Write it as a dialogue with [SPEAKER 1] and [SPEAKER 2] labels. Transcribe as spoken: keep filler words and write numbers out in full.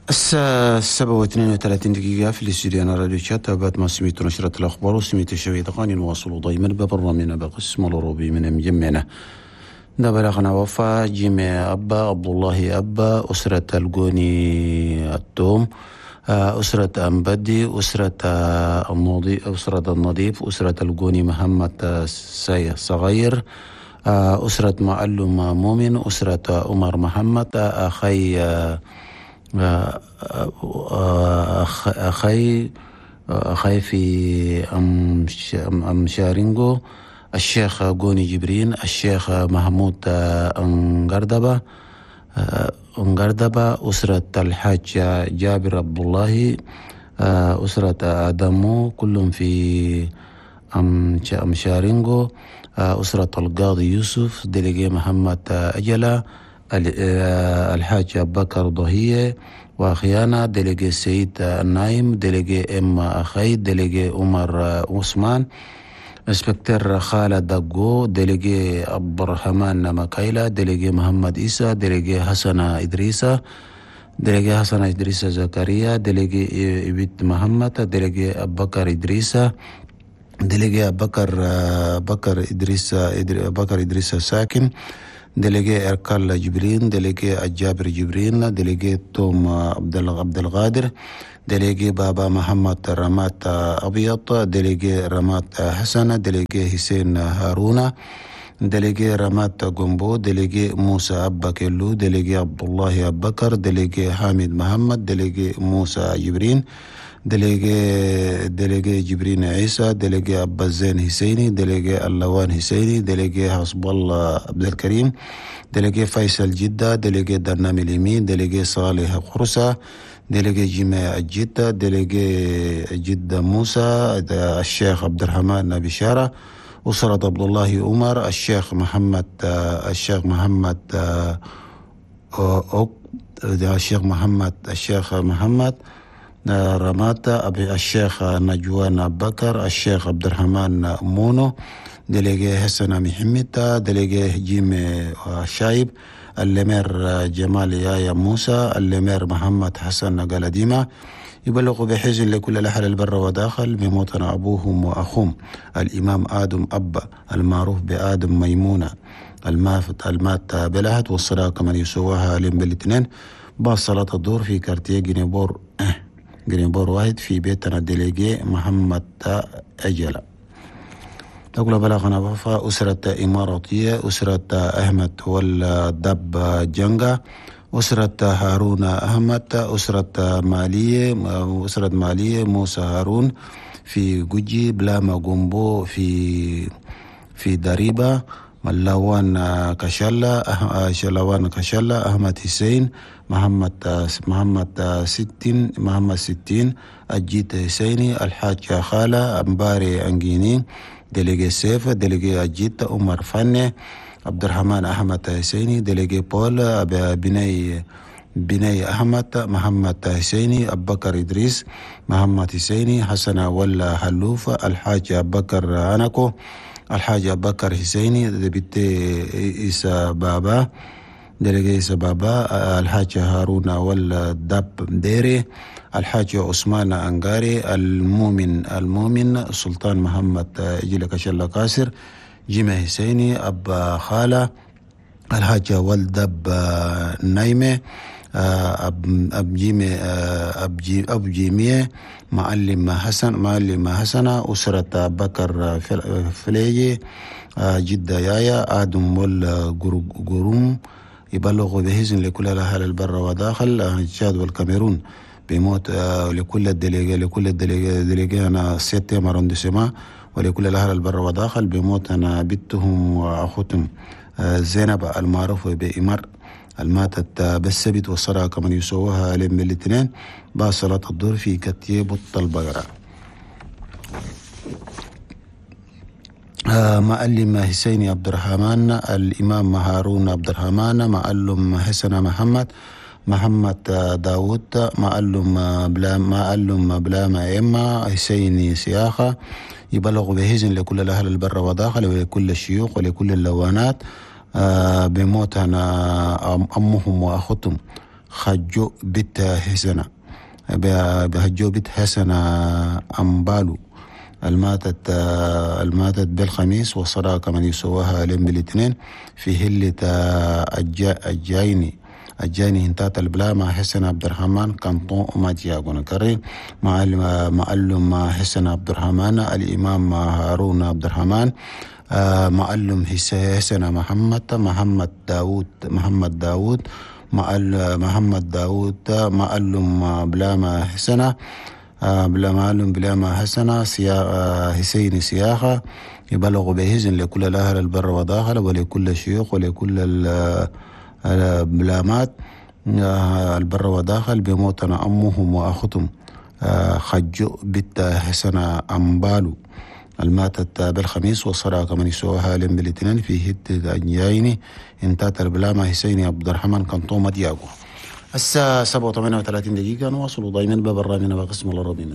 [SPEAKER 1] الساعة سبعة واثنين وثلاثين دقيقة في الاستوديو أنا راديو تشاد. تابعت ما سميت نشرة الأخبار وسميت الشوية تقاني نواصل دايما ببرنامجنا بقسم الأوروبي من مجمعنا. ده بلغنا وفا جيمي أبا عبد الله أبا أسرة الجوني التوم، أسرة أمبدي، أسرة النضيف، أسرة النظيف، أسرة الجوني محمد صغير، أسرة معلم مؤمن، أسرة عمر محمد، أخي أخي أخي في أم شارينغو، الشيخ جوني جبرين، الشيخ محمود أنغردبة أنغردبة، أسرة الحاج جابر عبد الله، أسرة آدمو كلهم في أم شارينغو، أسرة القاضي يوسف، délégué محمد أجلة، الحاج بكر ضهية وأخيانا، délégué سيد النايم، délégué إم أخي، délégué عمر عثمان، inspecteur خالد دقو، délégué عبد الرحمن مكايلة، délégué محمد إيسا، délégué حسن إدريسة، délégué حسن إدريسة زكريا، délégué إبت محمد، délégué بكر إدريسة، délégué بكر بكر إدريسة بكر إدريسة ساكن، délégué إركال جبرين، délégué الجابر جبرين، délégué توم عبد القادر، délégué بابا محمد رمات أبيض، délégué رمات حسن، délégué حسين هارون، délégué رمات جنبو، délégué موسى أبا كيلو، délégué عبد الله أبكر، délégué حامد محمد، délégué موسى جبرين، délégué délégué جبرين عيسى، délégué أبا الزين حسيني، délégué اللوان حسيني، délégué حسب الله عبد الكريم، délégué فيصل جدة، délégué درنامي اليمين، délégué صالح خرسة، délégué جماع الجدة، délégué جدة موسى، الشيخ عبد الرحمن بشارة، أسرة عبد الله عمر، الشيخ محمد الشيخ محمد الشيخ محمد الشيخ محمد رماتا، أبي الشيخ نجوان بكر، الشيخ عبد الرحمن مونو، délégué حسن محمد، délégué جيم شايب، ال maire جمال يايا موسى، ال maire محمد حسن قلديمة. يبلغ بحزن لكل الأهل البر وداخل بموتنا أبوهم وأخوهم الإمام آدم أبا المعروف بآدم ميمونة المافت المات بلهت، والصلاة كمن يسواها لهم بالاثنين بعد صلاة الظهر في quartier جنيبور جرينبور واحد في بيتنا délégué محمد أجلة. تقول بلغنا وفا أسرة إماراتية، أسرة أحمد والدب جنجا، أسرة هارون أحمد، أسرة مالية أسرة مالية موسى هارون في جوجي، بلاما جومبو في في دريبة، ملوان كشلة شلوان كشلة، أحمد حسين، محمد محمد ستين محمد ستين، الجيت حسيني، الحاج خالة أمباري أنجيني، délégué سيف، délégué الجيت عمر فني، عبد الرحمن أحمد حسيني، délégué بول بني بني أحمد، محمد حسيني، أبو بكر إدريس، محمد حسيني، حسن ولا حلوف، الحاج أبو بكر أنكو، الحاج أبو بكر حسيني، député إيسا بابا، délégué إيسا بابا، الحاج هارون والدب ديري، الحاج عثمان أنغاري، المؤمن المؤمن سلطان محمد إجلك شلا قاسر، جيمة حسيني، أبا خالة، الحاج والدب نايمة، أب أب جيمة أب جي أب جيمية، معلم حسن معلم حسنة، أسرة بكر فليجي، جدة يايا، آدم والجروم. يبلغ بحزن لكل الأهل البر وداخل تشاد والكاميرون بموت لكل ال délégué لكل ال délégué délégué أنا septième arrondissement ولكل الأهل البر وداخل بموت أنا بنتهم وأخوتهم زينب المعروفة بإمر الماتت بالسبت والصلاة كمن يسووها لهم الاثنين بعد صلاة الظهر في كتيب البقرة. معلم حسين عبد الرحمن، الإمام هارون عبد الرحمن، معلم حسن محمد، محمد داود، معلم بلا معلم بلا ما إما حسين سياخة. يبلغ بحزن لكل الأهل البر وداخل ولكل الشيوخ ولكل اللوانات بموت أنا أمهم وأخوتهم خجو بت حسنة بهجو بت حسنة أمبالو الماتت الماتت بالخميس، والصداقة كمان يسواها لين بالاثنين في هلة الجايني الجاني هنتات البلاما حسن عبد الرحمن كانطون ماتياغو. نكرر معلم حسن عبد الرحمن، الإمام هارون عبد الرحمن، معلم حسن محمد، محمد داود، محمد داود، محمد داود، معلم بلاما حسنة، بلا معلم بلاما حسنة حسين سياخة. يبلغ بهزن لكل الأهل البر وداخل ولكل الشيوخ ولكل البلامات البر وداخل بموتنا أمهم وأختهم خجو بنت حسنة أمبالو الماتت بالخميس، والصلاة كمان يسوها لين بالاثنين في هد الجايني انتات البلامة حسيني عبد الرحمن كنطومة دياغو. الساعة سبعة وثمانية وثلاثين دقيقة نواصل دائما ببرنامجنا بقسم العربي.